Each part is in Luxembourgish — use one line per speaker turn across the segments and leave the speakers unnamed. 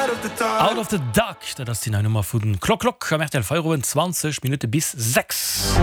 Out of the Dark, dat ass déi nei Nummer vu Clock Clock am rtl Feierowend, 20 Minutte bis 6.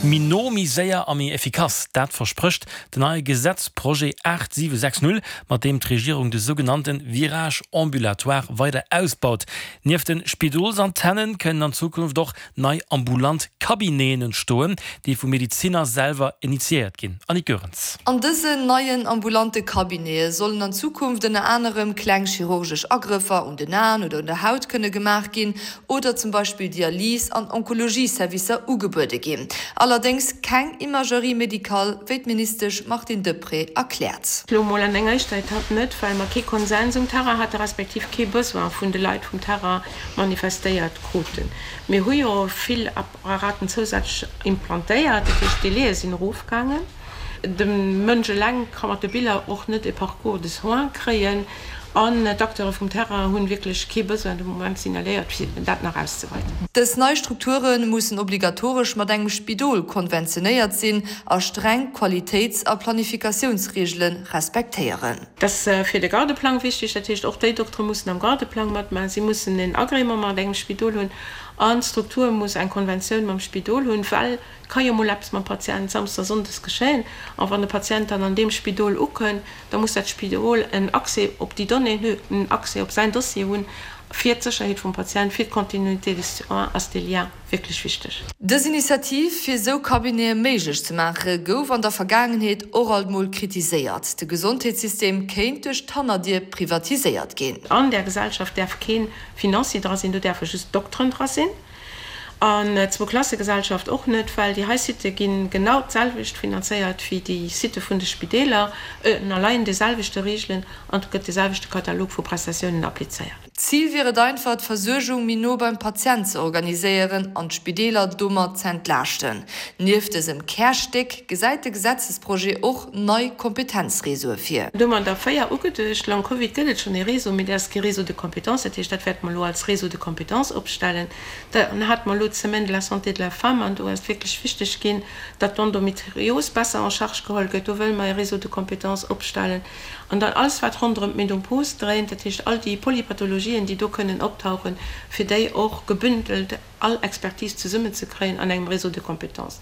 Méi no, méi séier a méi effikass, dat versprécht den neie Gesetzprojet 8760, mat deem d'Regierung de sougenannte Virage ambulatoire weider ausbaut. Nieft de Spidolsantennen kënnen an Zukunft och nei ambulant Cabineten entstoen, déi vu Medezinner selwer initiéiert ginn. Annick Goerens.
An dësen neien ambulante Cabinete sollen an Zukunft ënner anerem kleng chirurgesch Agrëffer un den Aen oder un der Haut kënne gemaach ginn oder zum Beispill Dialys an Onkologie-Servicer ugebuede ginn. Allerdéngs keng Imagerie médicale, wéi d'Ministesch Martine Deprez erkläert.
Elo mol an enger éischter Etapp net, well mer kee Konsens um Terrain hate respektiv kee Besoin vun de Leit vum Terrain manifestéiert kruten. Mir hu jo vill Apparaten zousätzlech implantéiert, dat heescht d'Délaië sinn erofgaangen. De Mënsch eleng ka mat de Biller och net e Parcours de soins kréien an d'Acteure vum Terrain hunn wierklech kee Besoin de Moment signaléiert, fir dat nach auszeweiten.
Dës nei Strukture mussen obligatoresch mat engem Spidol konventionéiert sinn a streng Qualitéits a Planifikatiounsreegele respektéieren.
Dat ass fir de Gardeplang wichtig. Dat heescht, och déi Doktere mussen am Gardeplang matmaachen. Si mussen en Agrément mat engem Spidol hunn an d'Struktur muss eng Konventioun mam Spidol hunn, well et ka jo mol eppes mam Patient samsdes a sonndes geschéien. A wann de Patient dann an deem Spidol ukënnt, da muss dat Spidol en Accès op déi Donnéeën hunn, en Accès op säin Dossier hunn. Fir d'Sécherheet vum Patient, fir d'Continuité des soins ass dee Lien wierklech wichteg.
Dës Initiativ, fir esou Cabinete méiglech ze maache, gouf an der Vergaangenheet och alt mol kritiséiert. De Gesondheetssystem kéint duerch d'Hannerdier privatiséiert ginn.
An där Gesellschaft däerf kee Financier dra sinn, do däerfe just Dokteren dra sinn. An d'Zwouklassegesellschaft och net, well déi hei Sitë gi genau d'selwecht finanzéiert wéi déi Sitë vun de Spideeler, ënnerleien de selwechte Reegelen an et gëtt de selwechte Katalog vu Prestatiounen applizéiert.
D'Zil wier et einfach, d'Versuergung méi no beim Patient ze organiséieren an d'Spideeler domat z'entlaaschten. Nieft dësem Kärstéck gesäit de Gesetzesprojet och nei Kompetenzreseaue vir.
Do hu mer der 4 ugeduecht. Long Covid gëtt et schonn ee Réseau, mee dat ass kee Réseau de compétences. Dat heescht, dat wäerte mer elo als Réseau de compétences opstellen. Dann hate mer elo d'Semaine de la santé de la femme an do ass et wierklech wichteg ginn, datt d'Endometrios besser en charge geholl gëtt. Do wëlle mer ee Réseau de compétences opstellen. An dann alles, wat ronderëm d'Menopause dréint, dat heescht all déi Polypathologien, déi do kënnen optauchen, fir déi och gebündelt all Expertise zesummenzekréien an engem Réseau de compétences.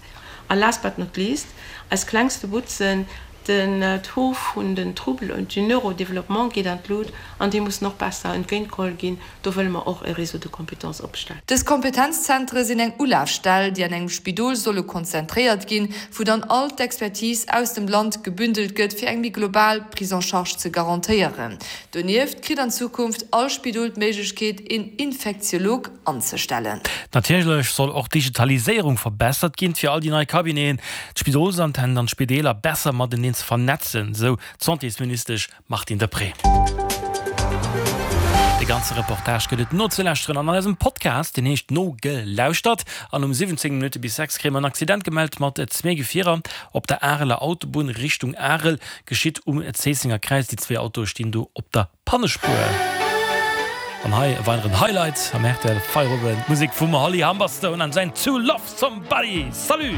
A last but not least, eis klengste Butzen, den Taux vun den Troubles du neurodéveloppement geet an d'Lut an déi mussen och besser entgéintgeholl ginn. Do wëlle mer och e Réseau de compétences opstellen.
Dës Kompetenzzentere sinn eng Ulafstell, déi an engem Spidol solle konzentréiert ginn, wou dann all d'Expertise aus dem Land gebündelt gëtt, fir eng méi global Prise en charge ze garantéieren. Donieft kritt an Zukunft all Spidol d'Méiglechkeet, een Infektiolog anzestellen.
Natierlech soll och d'Digitaliséierung verbessert ginn, fir all déi nei Cabineten, d'Spidolsantennen an d'Spideeler besser mateneen ze vernetzen, sou d'Santésministesch Martine Deprez. De ganze Reportage gëtt et nozelauschteren an eisem Podcast, deen heescht Nogelauschtert. An um 17 Minutte bis 6 kréie mer en Accident gemellt mat zwee Gefierer op der Areler Autobunn Richtung Arel. Geschitt um Zéissenger Kräiz. Déi zwee Autoe stinn do op der Pannespuer. An hei e weideren Highlight am rtl Feierowend, d'Musek vum Holly Humberstone an säin To Love Somebody. Salut!